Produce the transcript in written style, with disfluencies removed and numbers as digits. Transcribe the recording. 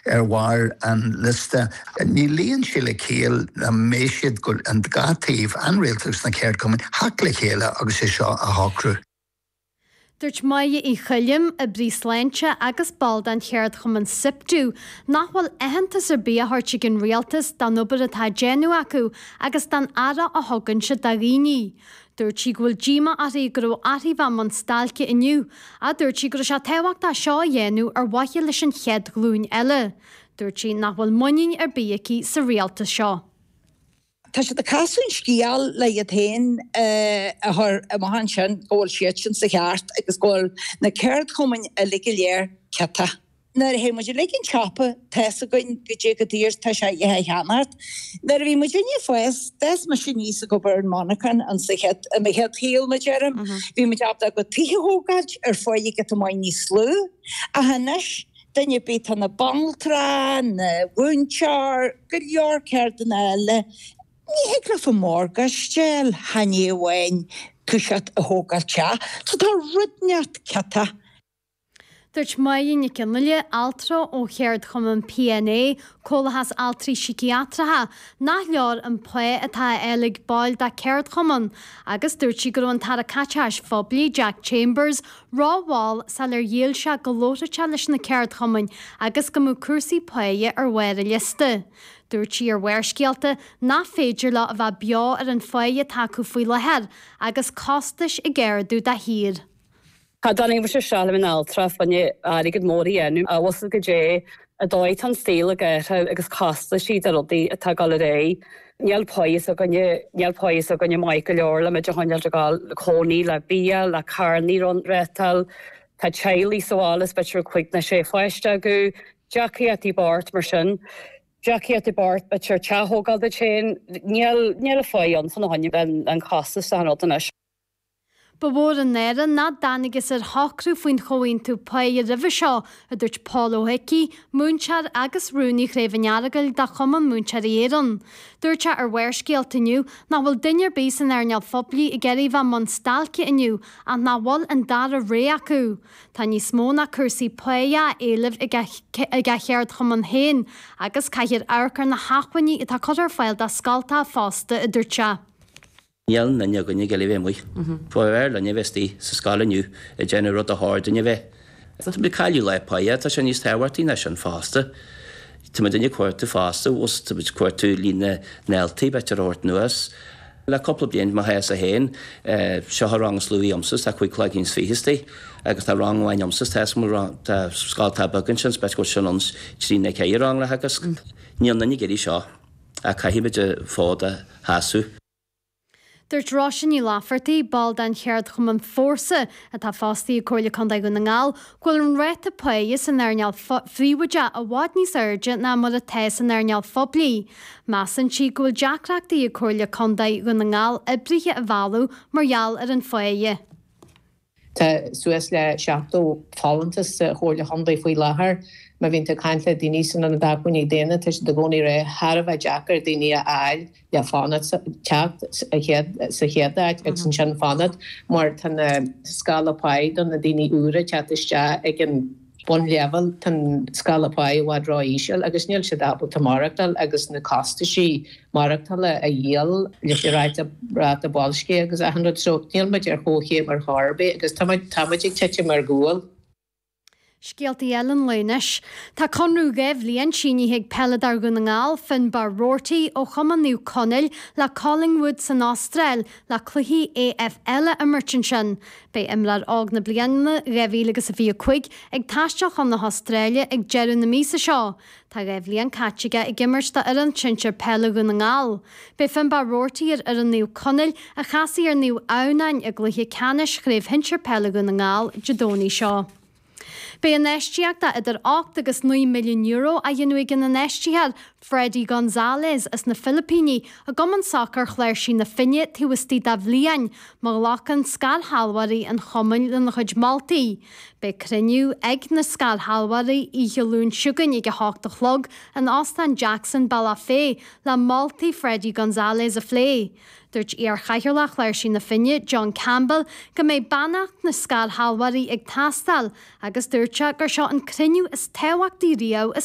ar bharr an liosta. Ní luíonn sé le ciall nach mbeidh siad, an dá taobh, an rialtas agus na ceardchumainn, theacht le chéile agus é seo a shocrú. Dúirt Máire Uí Choilm, oibrí sláinte agus ball den cheardchumann Siptu, nach bhfuil aitheantas ar bith á thabhairt ag an rialtas don obair atá á déanamh acu agus don aire a thugann siad do dhaoine. Dúirt sí go bhfuil díomá uirthi go raibh uirthi bheith i mbun stailce inniu ach dúirt sí go raibh sé tábhachtach seo a dhéanamh ar mhaithe leis an chéad ghlúin eile. Dúirt sí nach bhfuil muinín ar bith aici sa rialtas seo. Tá siad ag casadh an scéal le iad féin a chur amach ansin go bhfuil siadsan sa cheart agus go bhfuil na ceardchumainn uilig go léir ciotach. Nuair a théann muid uilig an tsiopa tá's againn goidé chomh daor is atá sé a dhath a cheannacht. Nuair a bhí muidinne ag fás, d'fhás mise aníos ag obair ar an monarchan in sa chéad, i mo chéad shaol mar a deirim, bhí muid ábalta ár gcuid tithe a thógáilt ar pháighe giota maith níos lú. Ach anois, Duine ar bith, tá na banaltra, na mhúinteoir, go leor ceirdeanna eile, ní thig leofa morgáiste a fháil chan ní amháin toiseacht a thógáil teach. So tá rud inteacht ciotach. Dúirt Máire Nic Fhionnghaile, altra ó cheardchumann PNA, Comhlachas Altraí Síciatracha, nach leor an pá atá á fháil ag baill dá ceardchumann agus dúirt sí go raibh an tAire Caiteachais Phoiblí, Jack Chambers, rómhall sular ghéill sé go labharfadh sé leis na ceardchumainn agus go mbeadh cúrsaí páighe ar bharr an liosta. Dúirt sí ar Bharrscéalta nach féidir leo a bheith beo ar an pháighe atá acu faoi láthair agus costais ag ardú de shíor. Cha dtáinig mise isteach le bheith in altra fá choinne airgead mór a dhéanamh ach bhfuil 's agat goidé an dóigh tá an saol ag athrú agus costaisí de rudaí atá ag dul ar aghaidh. Níl páighe s'againne, níl páighe s'againne maith go leor le muid a choinneáilt ag dul le cónaí, le bia, le carrannaí a rentáil. Tá teaghlaigh sa bhaile is b'fhéidir 5 nó 6 pháiste acu. Deacrachtaí bocht mar sin. Deacrachtaí bocht b'fhéidir teach a thógáil duit féin. Níl, níl an pháighe ann fá choinne an costas de achan rud anois. Ba mhór an náire nach dtángthas ar shocrú faoin chomhaontú páighe roimhe seo, a dúirt Pól Ó hIcí, múinteoir agus rúnaí Chraobh an Earagail de Chumann Múinteoirí Éireann. Dúirt sé ar Bharrscéalta inniu nach bhfuil duine ar bith san earnáil phoiblí ag iarraidh a bheith i mbun stailce inniu ach nach bhfuil an dara rogha acu. Tá níos mó ná cúrsaí páighe á éileamh ag a cheardchumann féin agus caithfear amharc ar na hacmhainní atá curtha ar fáil do scoltacha fosta, a dúirt sé. Níl aon duine againn ag iarraidh a bheith amuigh. B'fhearr linn a bheith istigh sa scoil inniu ag déanamh rud a chóir dúinn a bheith. Tá muid ag cailleadh lá páighe, tá sé níos tábhachtaí ná sin fosta. Tá muid ag cuartú fosta, bhfuil tá muid ag cuartú líon na ndaltaí b'fhéidir a thabhairt anuas. Le cúpla bliain, mo chás féin, seo an rang is lú agamsa, tá 15 cloigín istigh agus tá rang amháin agamsa, tá tá scoil atá beag ansin, is b'fhéidir go bhfuil sin ann trí nó ceithre rang le theagasc. Níl aon duine ag iarraidh seo ach caithfidh muid an fód a sheasamh. Dúirt Róise Ní Laifeartaigh, ball den cheardchumann Fórsa, atá fostaithe ag Comhairle Contae Dhún na nGall, go bhfuil an ráta páighe san earnáil phríobháideach i bhfad níos airde ná mar atá san earnáil phoiblí. Measann sí go bhfuil deacrachtaí ag Comhairle Contae Dhún na nGall oibrithe a mhealladh mar gheall ar an pháighe. Tá suas le 70 folúntas sa Chomhairle Chontae faoi láthair. Má bhíonn tú ag caint le daoine san Ionad Acmhainní Daonna, tá siad i gcónaí ag rá thar a bheith deacair daoine a fháil le fanacht, teacht sa chéad áit agus ansin fanacht mar tá na scála páí do na daoine úra ag teacht isteach ag an bunleibhéal, tá an scála páí i bhfad ró-íseal agus níl siad ábalta maireachtáil agus na costaisí maireachtála a dhíol leis an ráta, ráta boilscithe agus achan rud. So níl muid ar chomhchéim ar chor ar bith agus tá muid, tá muid ag titim ar gcúl. Scéaltaí eile an lae anois. Tá conradh 2 bhliain sínithe ag peileadóir Dhún na nGall, Finbarr Roarty, ó Chumann Naomh Conaill le Collingwood san Astráil le cluichí AFL a imirt ansin. Beidh imreoir óg na bliana 2025 ag taisteal chun na hAstráile ag deireadh na míosa seo. Tá 2 bhliain caite aige ag imirt do fhoireann sinsir peile Dhún na nGall. Beidh Finbarr Roarty ar fhoireann Naomh Conaill a chasfaidh ar Naomh Adhamhnáin i gcluiche ceannais Chraobh Shinsir Peile Dhún na nGall Dé Domhnaigh seo. Beidh infheistíocht de idir €8 agus €9 milliún á dhéanamh ag an infheistitheoir Freddie Gonzalez as na Filipíní i gCumann Sacair Chláirsigh na Finne taobh istigh de bhliain má ghlacann scairshealbhóirí an chumainn lena chuid moltaí. Beidh cruinniú ag na scairshealbhóirí oíche Luain seo chugainn ag 8 a chlog in Óstán Jackson, Bealach Féich, le moltaí Freddie Gonzalez a phlé. Dúirt iar-chathaoirleach Chláirsigh na Finne, John Campbell, go mbeidh beannacht na scairshealbhóirí ag teastáil agus dúirt sé gur seo an cruinniú is tábhachtaí riamh i.